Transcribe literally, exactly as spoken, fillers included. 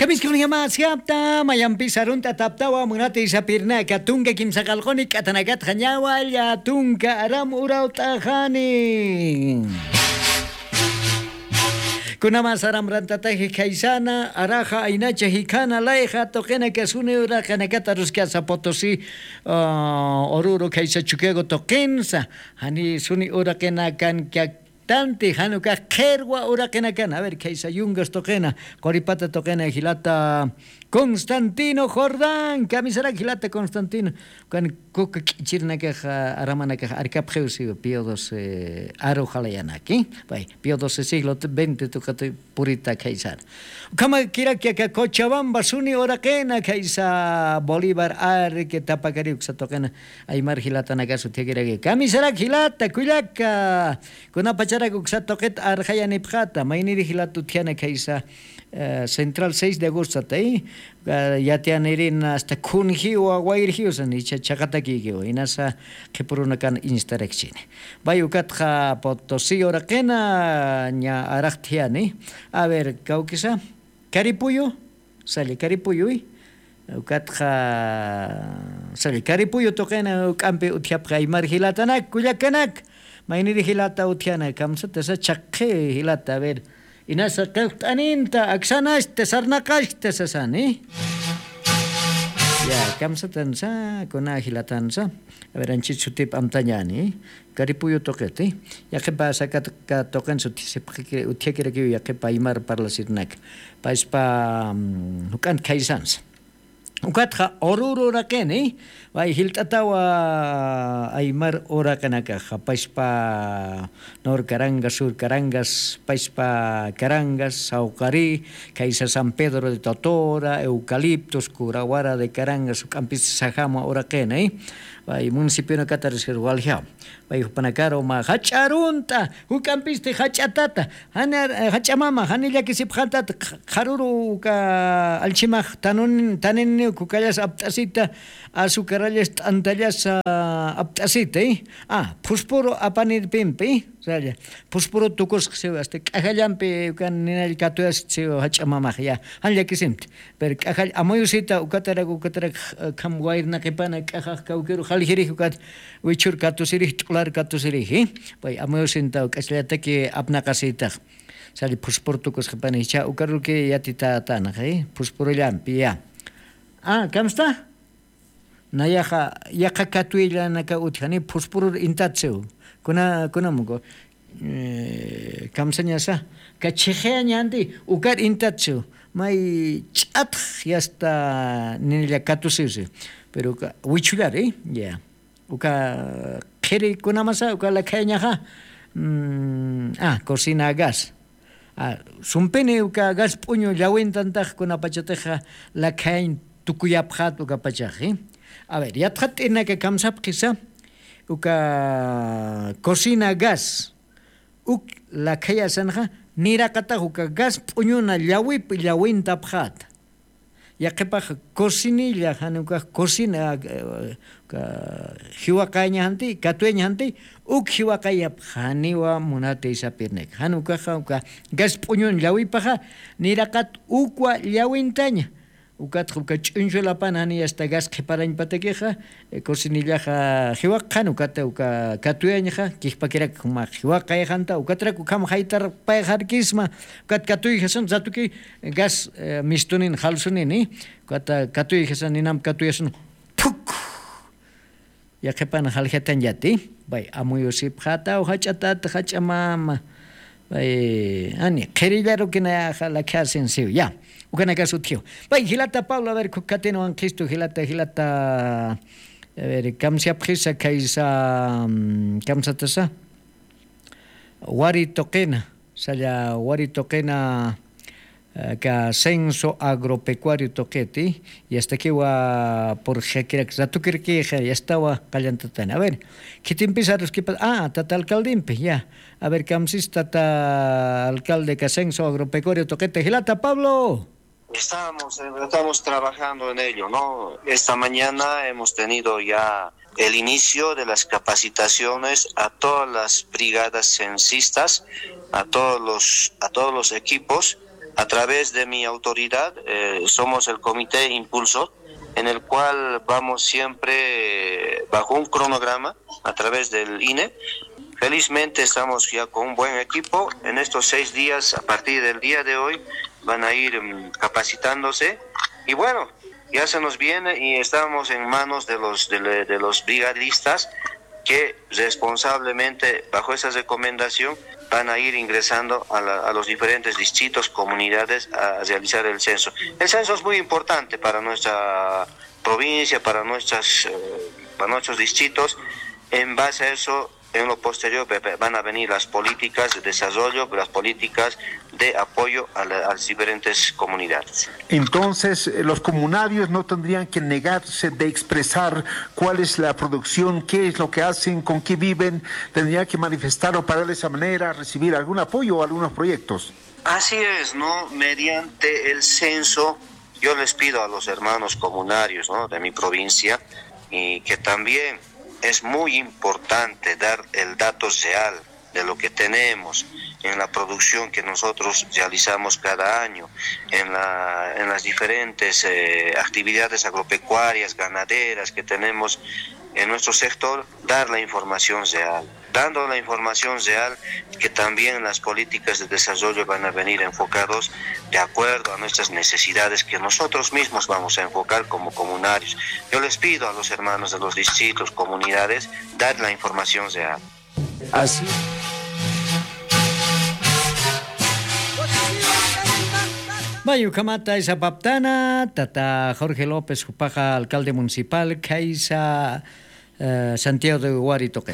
Kamiskunjama siyapta mayampis arunt'ataptawa munati sapirnaka tunka kimsa qallquni k'atanakatxa ñawalla tunka aram urawt'axani. Kunama saram rantataji khaysana araxa aynacha jikhana layxa tuqinaka suni uraqinakata ruskasa potosi ururu khaysa chukiago tuqinsa. Jani suni uraqinakan kak tanti janukax qhirwa uraqinakan a ver khaysa yungas tuqina quripata tuqina jilata constantino jordán kamisarak jilata constantino. Kan kuka k'ichirinakax aramanakax arkapxiw siwa pío doce aru jalayanaki. Pay pío doce siglo veinte tuqata purita khaysana. Ukhama kirak yaka cochabamba suni uraqina khaysa bolívar arki tapakariw uksa tuqina aymar jilatanakasu thikiraki kamisarak jilata kullaka. Kunapacharak uksa tuqit arxayanipxata mayniri jilat utjana khaysa central seis de agostata yatiyanirin asta khunjiwa wayrjiw sani icha chaqatakikiwa inasa qhipurunakan instarakchini. Pay ukatxa potosi uraqina ña araxtjiyani. A ver kawkisa karipuyu salla karipuyuy. Ukatxa salla karipuyu tuqina uk'ampi utjapxi aymar jilatanak kullakanak. Mayniri jilata utjana kamsatasa chhaqhi jilata a ver inasa qillqt'aninta aksanachta sarnaqachta sasani. Ya kamsatansa kuna jilatansa a ver anchit sutip amtañani karipuyu tuqiti. Yaqhipa sakataka tuqinsa utjasipxiki utjakirakiw yaqhipa aymar parlasirnaka paspa juk'ant khaysansa. Ukatxa ururu uraqini pay jilt'atawa aymar uraqinakaxa paspa norcarangas surcarangas paspa carangas sawqari khaysa san pedro de totora eucaliptos curawara de carangas juk'ampis sajama uraqini. Pay municipionakatarisir waljaw pay jupanakaru mä jach'a arunt'a juk'ampisti jach'atata jani jach'amama jani llakisipxantata. Qharuru uka allchimax tanuniniw kukallas apt'asita azucarallas t'antallasa apt'asita. Phuspuru apanirpimpi salla phuspuru tukusxsiw asta k'ajallampi ukan ninall katuyasxsiw jach'a mamax ya jan llakisimti. Pero k'ajall amuyusita ukatarak ukatarak kham wayrnaqipana k'ajax kawkiru jaljirij ukat wichhur katusirij t'ular katusiriji. Pay amuyusintaw k'achallataki apnaqasitax salla phuspuru tukusxipana jichha ukaruki yatitatanax phuspurullampi ya. Kamsta nayaxa yaqa katuyallanaka utjani phuspurur intatsiw. Kuna kunamuku kamsañasa kachhiqayañanti ukar intatsiw may ch'atx yasta ninilla katusiwsi. Pero wichhullari ya uka qhiri kunamasa uka lakhayañaxa cocina gas sumpini uka gas p'uñu llawintantax kunapachatixa lakhayañ tukuyapxat ukapachaxi. A ver yatxat'irnaka kamsapxisa uka cocina gas uk lakhayasanxa niraqatax uka gas p'uñuna llawip llawintapxata. Yaqhipax cocinilla jani ukax cocina jiwaqayañaxanti katuyañaxanti uk jiwaqayapxaniwa munati sapirnaka jani ukaxa uka gas p'uñun llawipaxa niraqat ukwa llawintaña. Ukatxa uka ch'uñchulapan jani asta gas qhiparañpatakixa cocinillaxa jiwaqxan ukata uka katuyañxa kijpakirak jumax jiwaqayxanta ukatrak ukham jaytarpayxarkisma. Ukat katuyjasan ratuki gas mistunin jalsunini ukata katuyjasan ninamp katuyasun. Phuk yaqhipan jaljatañllati. Pay amuyusipxataw jach'atat jach'amama pay ani qhirillarukinaya jalakhyasinsiw ya. Ukanakas utjiw pay jilata pablo a ver khukhatin wanqistu jilata jilata a ver kamsiyapxisa khaysa kamsatasa wari tuqina salla wari tuqina ka censo agropecuario tuqiti yastakiwa purxakirak ratukirkixa yastawa qallantatani a ver khitimpis aruskipas a tata alcaldimpi ya. A ver kamsis tata alcalde ka censo agropecuario tuqita jilata pablo. Estamos, estamos trabajando en ello, ¿no? Esta mañana hemos tenido ya el inicio de las capacitaciones a todas las brigadas censistas, a todos los, a todos los equipos A través de mi autoridad, eh, somos el comité impulsor, en el cual vamos siempre bajo un cronograma a través del I N E. Felizmente estamos ya con un buen equipo. En estos seis días, a partir del día de hoy, van a ir, mm, capacitándose. Y bueno, ya se nos viene y estamos en manos de los, de le-, de los brigadistas que responsablemente, bajo esa recomendación, van a ir ingresando a la, a los diferentes distritos, comunidades a realizar el censo. El censo es muy importante para nuestra provincia, para nuestras, eh, para nuestros distritos. En base a eso, en lo posterior ve-, ve-, van a venir las políticas de desarrollo, las políticas de apoyo a la, a las diferentes comunidades. Entonces, eh, los comunarios no tendrían que negarse de expresar cuál es la producción, qué es lo que hacen, con qué viven, tendrían que manifestarlo para de esa manera recibir algún apoyo o algunos proyectos. Así es, ¿no? Mediante el censo, yo les pido a los hermanos comunarios, ¿no?, de mi provincia, y que también es muy importante dar el dato real de lo que tenemos en la producción que nosotros realizamos cada año, en la, en las diferentes, eh, actividades agropecuarias, ganaderas que tenemos en nuestro sector, dar la información real. Dando la información real, que también las políticas de desarrollo van a venir enfocados de acuerdo a nuestras necesidades que nosotros mismos vamos a enfocar como comunarios. Yo les pido a los hermanos de los distritos, comunidades, dar la información real. Así. May ukhamata isapaptana, tata Jorge López, jupaxa alcalde municipal, khaysa, eh, Santiago de Wari tuqi.